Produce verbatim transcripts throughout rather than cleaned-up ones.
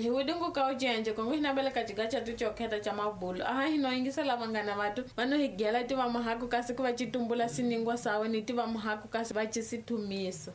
Hi wudingu ka ucenje kongo hinabela katika chatu chokheta cha mabulu aha hinoyingisela vangana vatu vano higela ti va mahaku kasi ku va citumbula siningwa sawe ni ti va mahaku kasi va cisithumisa.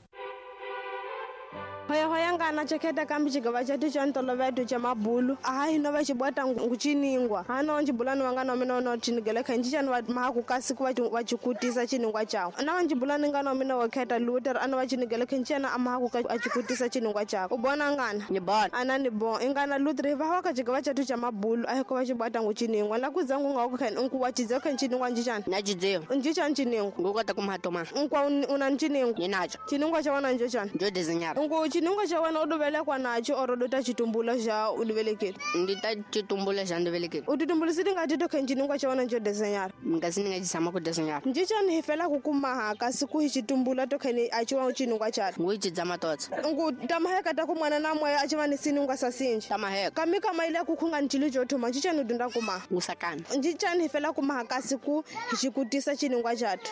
Hoya hoya ngana cheketa kambi chigava chatu cha ntoloveto cha mabulu aha hino va xibwata nguchiningwa hano njibulani wangana mina no chinigele khanji chani va mahaku kasi ku va chikutisa chiningwa chawo na wanjibulani ngana mina wa kheta Luther ana va chinigele khanji chana amahaku ka achikutisa chiningwa chawo u bona ngana ni bona ana ni bon ingana Luther va wa ka chigava chatu cha mabulu ahe ko va xibwata nguchiningwa la kuzangu nga ku khani unku wa chidze khanji chiningwa njichani na chidzeo njichani chiningwa ngukota kumatoma unkwa una nchiningwa ni nacho chiningwa cha wana njochani njo desenhar unku chiningwa cha wana uduvelekwa nacho oro dota chitumbula xa uduvelekile ndita chitumbula xa nduvelekile utitumbulisi tingati to khe chiningwa cha wana njo desenhar ngasi ni nga chisama ku desenhar njichani hi fela ku kumaha kasi ku hi chitumbula to khe achiwa chiningwa chato ngu chidzama totsa ngu tamaheka ta ku mwana na moya achiva ni siningwa sa sinji tamaheka kami kama ile ku khunga nchilo jo thoma njichani udunda kumaha ngusakana njichani hi fela kumaha kasi ku hi chikutisa chiningwa chato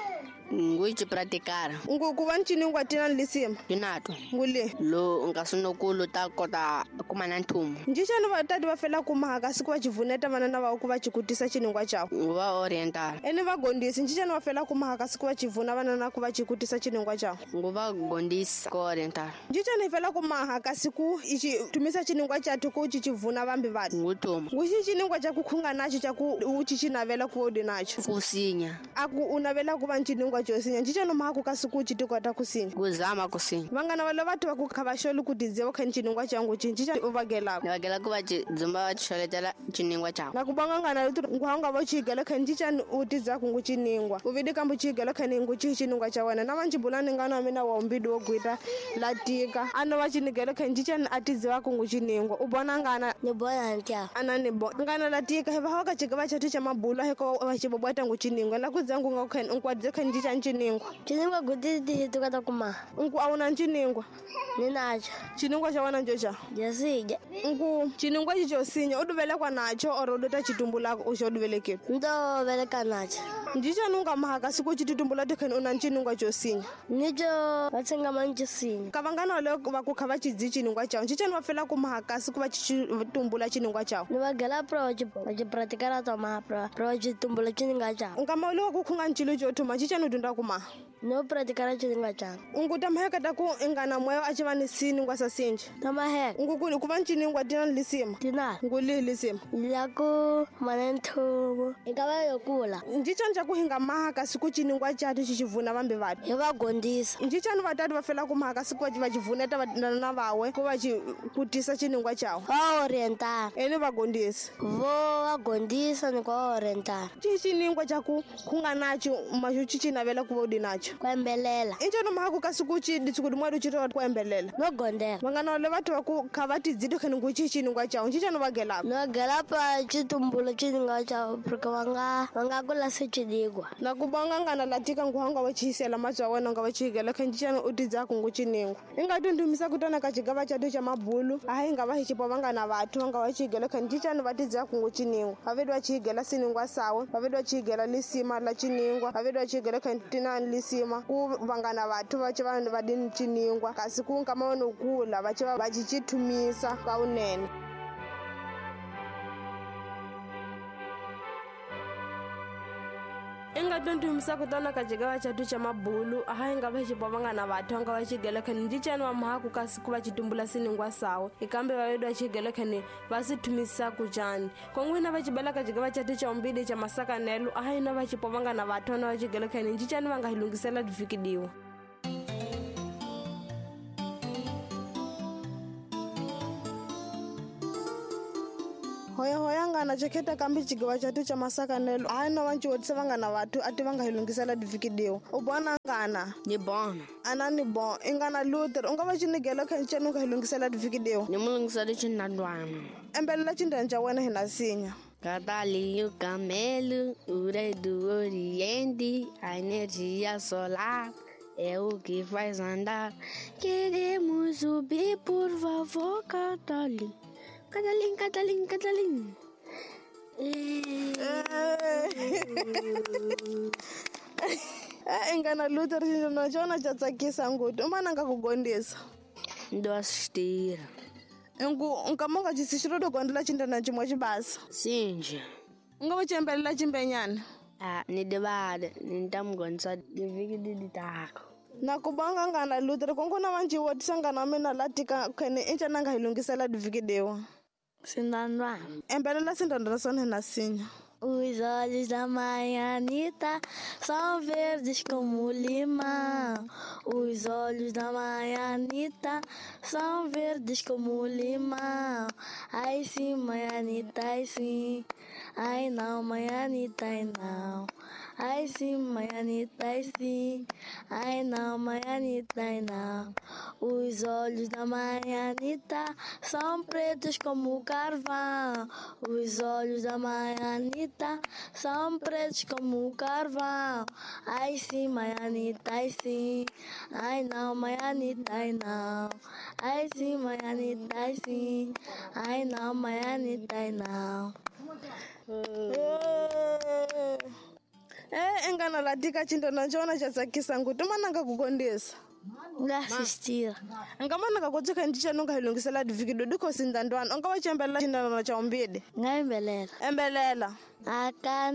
ngu chipratikara ngu ku va nchiningwa tina lisima tinato ngule lo ngasinokulo ta kota kumana nthumo njichani vatati va fela kumaha kasi ku va chivuneta vana na va ku va chikutisa chiningwa chawo ngu va oriental ene va gondisi njichani va fela kumaha kasi ku va chivuna vana na ku va chikutisa chiningwa chawo ngu va gondisa ko oriental njichani hi fela kumaha kasi ku ichi tumisa chiningwa chathu ku chichivuna vambi vatu ngu thuma ngu xi chiningwa cha ku khunga nacho cha ku u chichinavela ku odi nacho kusinya a ku u navela ku va nchiningwa chosinya njichani mahaku kasi ku chitikota kusinya kuzama kusinya vangana va lava va ku khavasholi ku tidziwa kha nchiningwa changu chinji u vagelaka ni vagela ku va dzumba va xoletela chiningwa chawo na ku banga ngana lutu nguhanga va chigela kha njichani u tidzaku ngu chiningwa u vidi kambu chigela kha ngu chi chiningwa cha wena na vanjibulani ngana mina wa umbidi wo gwita latika ano va chinigela kha njichani a tidziwa ku ngu chiningwa u bona ngana ni bona ntya ana ni bo ngana latika he va ka chigava chathu cha mabulu he ko va chibobwata ngu chiningwa la kudzangu nga kha nkwadze kha njichani chiningwa chiningwa gudidi tukata kuma nku awuna nchiningwa ni nacho chiningwa cha wana njocha josija nku chiningwa chichosinya uduvelekwa nacho oro dota chitumbula uxo uduvelekile ndo veleka nacho njichani unga kasi ku chitumbula tikhani una nchiningwa chosinya nicho vatsenga manchosinya kavangana le va ku kha va chidzi chiningwa chawo njichani va fela ku maha kasi ku va chitumbula chiningwa chawo ni vagela pro va chipratikara ta maha pro pro chitumbula chiningwa chawo nkama uliwa ku khunga nchilo cho thuma njichani udunda kumaha no pratikara chiningwa chawo ungu tamaheka ta ku ingana moya achiva ni siningwa sa sinji tamaheka ngu ku ku va nchiningwa tina lisima tina ngu lihi lisima la ku mana nthumo ingava yo kula njichani cha ku hinga maha kasi ku chiningwa chatu chichivuna vambi vatu hi va gondisa njichani vatati va fela ku maha kasi ku va chivuneta na vawe ku va chikutisa chiningwa chawo va oriental ene va gondisa vo va gondisa ni ku va oriental chi chiningwa cha ku khunga nacho maxo chichinavela ku va udi nacho ku embelela injani maha ku kasi ku chi ditsukudi mwadu chiro ku embelela no gondela vangana le vathu va ku kha va tidzito khani ngu chi chiningwa chawo njichani va gelaka no gela pa chitumbulo chiningwa chawo porque va nga va nga kula se chidigwa na ku bonga ngana latika nguhanga wa chisela matswa wena nga va chigela kha njichani u tidzaku ngu chiningwa inga tundumisa kutana ka chigava chatu cha mabulu ahi nga va hichipo vangana vathu va nga va chigela kha njichani va tidzaku ngu chiningwa va vedwa chigela siningwa sawe va vedwa chigela lisima la chiningwa va vedwa chigela kha tinani lisima ku vangana vathu va chi vanhu va dini chiningwa kasi ku nkama wona kula va chi va chichithumisa ka unene. Inga tundumisa kutana ka chigava chatu cha mabulu aha inga va chipo vangana vathu nga va chigela khani njichani wa mahaku kasi ku va chitumbula siningwa sawo ikambe va vedwa chigela khani va sithumisa kuchani kongwina va chibela ka chigava chatu cha umbidi cha masakanelo aha ina va chipo vangana vathu na va chigela khani njichani va nga hi lungisela divikidiwa. Hoya hoya ngana cheketa kambi chigava chatu cha masakanelo hayi no va nciwotisa vangana vathu a ti va nga hi lungisela divikidiwa u bona ngana ni bona ana ni bon ingana Luther u nga va chinigela kha nchani u nga hi lungisela divikidiwa ni mu lungisela chinandwana embelela chindani cha wena hi na sinya. Cavalinho, camelo, o rei do Oriente, a energia solar é o que faz andar. Queremos subir, por favor, Catalim. Catalim, Catalim, Catalim. Eh, ingana Luther xinxona xona xa tsakisa ngopfu u mananga ku gondisa Ndo assistir. Ngu nkama nga ci xiro do gondela cindana cimwe cibasa. Sinje. U nga va cembelela cimbenyana. Ah, ni divale ni ta mi gondisa divhiki ditako. Na ku banga ngana lutere kongo na vanji wo tisangana wa mina la tika khene inca nanga hi lunghisela divhiki dewa. Sindandwana. Embelela sindandwana sona na sinya. Os olhos da mãe Anitta são verdes como limão. Os olhos da mãe Anitta são verdes como limão. Ai sim, mãe Anitta, ai sim. Ai não, mãe Anitta, ai não. Ai sim, mãe Anitta, ai sim. Ai não, mãe Anitta, ai não. Os olhos da mãe Anitta são pretos como carvão. Os olhos da mãe Anitta são pretos como carvão. Ai sim, mãe Anitta, ai sim. Ai não, mãe Anitta, ai não. Ai sim, mãe Anitta, ai sim. Ai não, mãe Anitta, ai não. Eh, engana la tika cindana cona ca tsakisa ngu timananga ku kondisa. Nga assistira. Nkamananga ku tsika ndica nunga hi lunghisela divhiki do dikho sindandwana u nga va cembelela cindana ca umbidi. Nga embelela. Embelela. Aka